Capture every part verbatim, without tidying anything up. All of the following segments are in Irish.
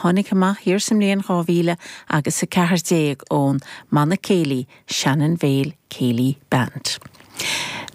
tháinig amach thiar sa mbliain dhá mhíle agus a ceathair déag ón mbanna céilí Shannon Vale Céilí Band.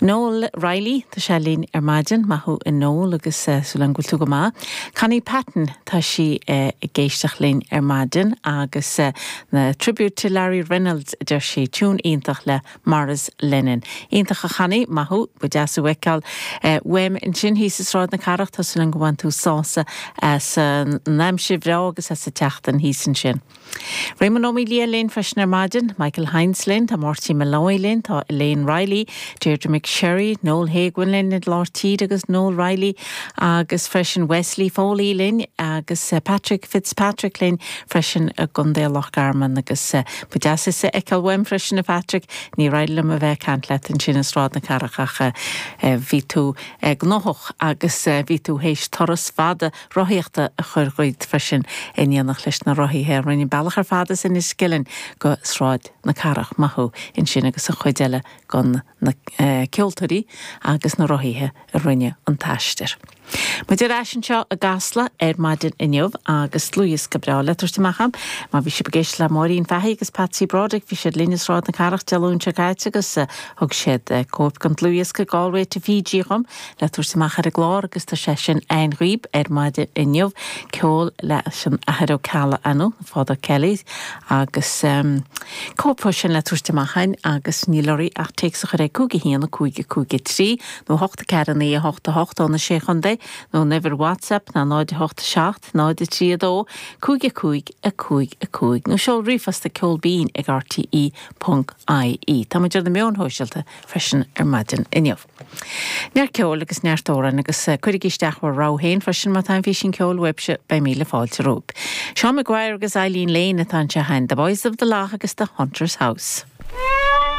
Noel Riley tá sé linn ar maidin maith thú a Noel agus uh, súil agam go bhfuil tú go maith. Connie Patton tá sí uh, ag éisteacht linn ar maidin agus uh, na tribute to Larry Reynolds deir sí tune iontach le Maurice Lennon. Iontach a Chonnie maith thú ba deas thú a fheiceáil uh, uaim ansin thíos i Sráid na Cathrach tá súil agam go bhain tú sásamh as an aimsir bhreá agus as an tseachtain thíos ansin. Raymond Ó Lia linn freisin ar maidin, Michael Heinz linn, tá Marty Malloy linn, tá Elaine Riley, Deirdre McSherry, Noel Haguin linn i lár tíre agus Noel Riley agus freisin Wesley Foley linn agus uh, Patrick Fitzpatrick linn freisin i gContae Loch Garman agus uh, ba deas thú a fheiceáil uaim freisin a Patrick, ní raibh liom a bheith caint leat ansin i Sráid na Cathrach ach uh, bhí tú uh, gnóthach agus uh, bhí tú théis turas fada rothaíochta a chur dhuit freisin in éineacht leis na rothaithe rinne bealach ar fad as Enniskillen go Sráid na Cathrach maith thú ansin agus an chuid eile den na uh, ceoltóirí agus na rothaithe a rinne an t-aistear. Muid ar ais anseo i gCasla ar maidin inniu agus dlúthdhiosca breá le tabhairt amach agam, má bhí sibh ag éisteacht le Máirín Fahey agus Patsy Broderick bhí siad linn i Sráid na Cathrach Dé Luain seo caite agus thug siad cóip den dlúthdhiosca Galway to Fiji dhom le tabhairt amach ar an gclár agus tá sé sin againn dhaoibh ar maidin inniu ceol leis an Athair Ó Ceallaigh anu Father Kelly agus um, cóip sin le tabhairt amach againn agus níl oraibh ach téacs a chur ag cúig a haon a cúig a cúig a trí nó hocht a ceathair naoi a hocht a hocht ó na sé chontae nó uimhir WhatsApp ná náid hocht seacht náid trí a dó cúig a cúig a cúig a cúig nó seol ríomhphost ag ceol binn ag RTE.ie. Tá muid ar na meáin shóisialta freisin ar maidin inniu. Neart ceoil agus neart amhrán agus cuirigí isteach bhur rogha féin freisin má tá an físeán ceoil uaibhse beidh míle fáilte romhaibh. Seán Maguire agus Eileen Lane atá anseo The Boys of the Lough agus the Hunter's House.